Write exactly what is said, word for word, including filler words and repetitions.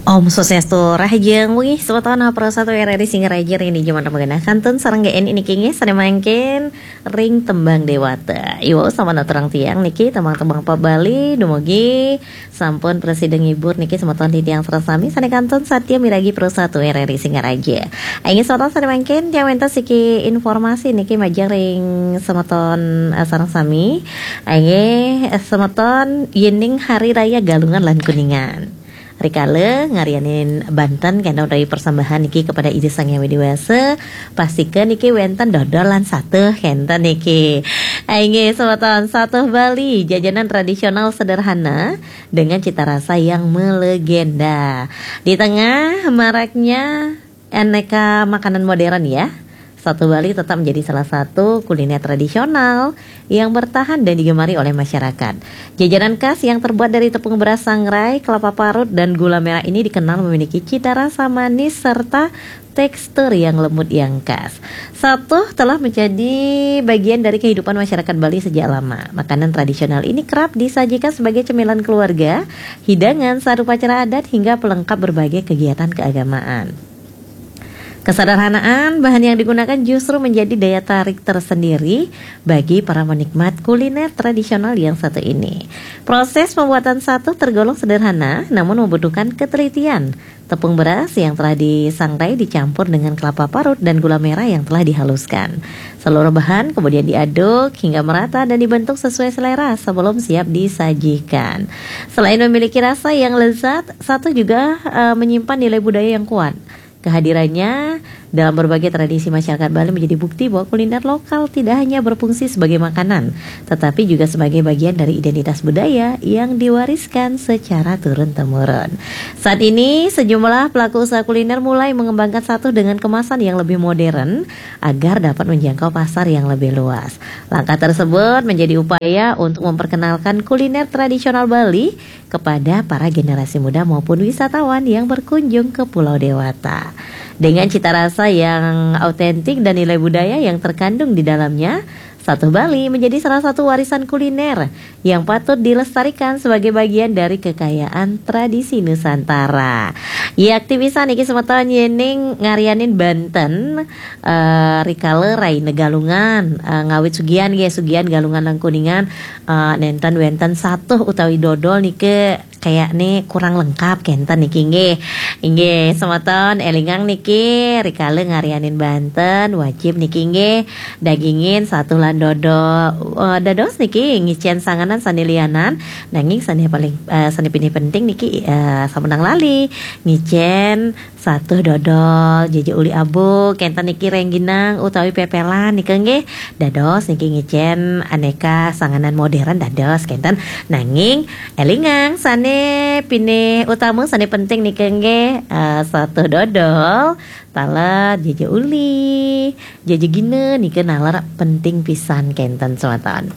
Om Swastiastu, rahajeng wengi semeton para satu R R I Singaraja ring dija manten magenah kantun sareng G N I niki inggih sané mangkin ring tembang Déwata. Iwau sampun aturang tiang niki tembang-tembang pop Bali dumugi sampun prasida ngibur niki semeton titiang sareng sami sané kantun satia miragi Pro satu R R I Singaraja. Inggih semeton sané mangkin tiang wénten siki informasi niki majeng ring semeton eh, sareng sami. Inggih eh, semeton yéning Hari Raya Galungan lan Kuningan. Rikala ngarianin banten kénten utawi persembahan niki kepada Ida Sang Hyang Widi Wasa, pastika niki wénten dodol lan satuh kénten niki. Inggih semeton, satuh Bali, jajanan tradisional sederhana dengan cita rasa yang melegenda. Di tengah maraknya aneka makanan modern ya, satuh Bali tetap menjadi salah satu kuliner tradisional yang bertahan dan digemari oleh masyarakat. Jajanan khas yang terbuat dari tepung beras sangrai, kelapa parut, dan gula merah ini dikenal memiliki cita rasa manis serta tekstur yang lembut yang khas. Satuh telah menjadi bagian dari kehidupan masyarakat Bali sejak lama. Makanan tradisional ini kerap disajikan sebagai cemilan keluarga, hidangan saat upacara adat, hingga pelengkap berbagai kegiatan keagamaan. Kesederhanaan bahan yang digunakan justru menjadi daya tarik tersendiri bagi para penikmat kuliner tradisional yang satu ini. Proses pembuatan satuh tergolong sederhana, namun membutuhkan ketelitian. Tepung beras yang telah disangrai dicampur dengan kelapa parut dan gula merah yang telah dihaluskan. Seluruh bahan kemudian diaduk hingga merata dan dibentuk sesuai selera sebelum siap disajikan. Selain memiliki rasa yang lezat, satuh juga eh, menyimpan nilai budaya yang kuat. Kehadirannya dalam berbagai tradisi masyarakat Bali menjadi bukti bahwa kuliner lokal tidak hanya berfungsi sebagai makanan, tetapi juga sebagai bagian dari identitas budaya yang diwariskan secara turun-temurun. Saat ini, sejumlah pelaku usaha kuliner mulai mengembangkan satuh dengan kemasan yang lebih modern agar dapat menjangkau pasar yang lebih luas. Langkah tersebut menjadi upaya untuk memperkenalkan kuliner tradisional Bali kepada para generasi muda maupun wisatawan yang berkunjung ke Pulau Dewata. Dengan cita rasa yang autentik dan nilai budaya yang terkandung di dalamnya, satuh Bali menjadi salah satu warisan kuliner yang patut dilestarikan sebagai bagian dari kekayaan tradisi Nusantara. Ya, aktivisan niki semeton yéning ngarianin banten eh, rikala raina Galungan, eh, ngawit sugihan nggih, sugihan Galungan lan Kuningan, eh, nénten wénten satuh utawi dodol niki kayakné kurang lengkap kénten niki nggih. Inggih, semeton élingang niki rikala ngarianin banten wajib niki nggih dagingin satuh lan dodol. Eh, dados niki ngicén sanganan sané lianan, nanging sané paling eh, sané pinih penting niki eh, sampunang lali ngicén satuh dodol, jaja uli abuk, kénten niki réngginang utawi pépélan nika nggih. Dados niki ngicén anéka sanganan modern dados kénten. Nanging élingang sané pinih utama sané penting nika nggih eh, satuh dodol, taler, jaja uli, jaja gina nika naler penting pisan kénten semeton.